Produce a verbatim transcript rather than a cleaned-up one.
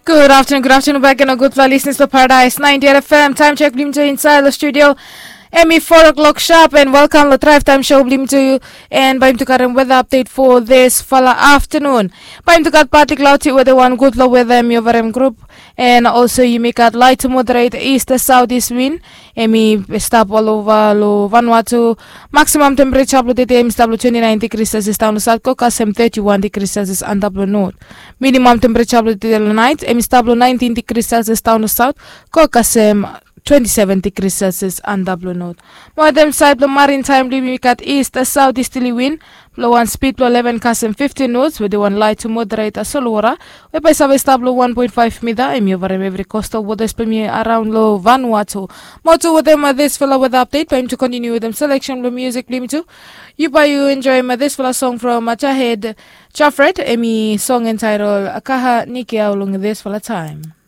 Gud aftanun, gud aftanun bek gen, gudfala lisnis long Paradise ninety-eight F M. Taem chek blong yumi tu insaed long studio, em i four o'clock sharp, and welcome long Drive Time Show blong yumi tu. And bae yumi tu gat weather update for this fala aftanun. Bae yumi tu gat partly cloudy weather, wan gudfala weather em i over em group. And also yumi gat light to moderate east southeast wind. Em i stap olova long Vanuatu. Maximum temperature blong tede em i stap long twenty-nine degrees Celsius daon long south, go kasem thirty-one degrees Celsius antap long north. Minimum temperature blong tede long night em i stap long nineteen degrees Celsius daon long south, go kasem twenty-seven degrees Celsius antap long north. Mo wetem saed blong marin taem blong yumi gat east southeasterly wind blong wan speed blong eleven kasem fifteen knots wetem wan light to moderate solwota we bae save stap long one point five mita. Em i ovarem evri coastal waters blong yumi araon long Vanuatu. Mo tu wetem disfala weather update, bae yumi tu kontiniu wetem selection blong music blong yumi tu. Yu bae yu enjoem disfala song from Jahed Jafret, em i song entitled Kaha Nikiau long disfala taem.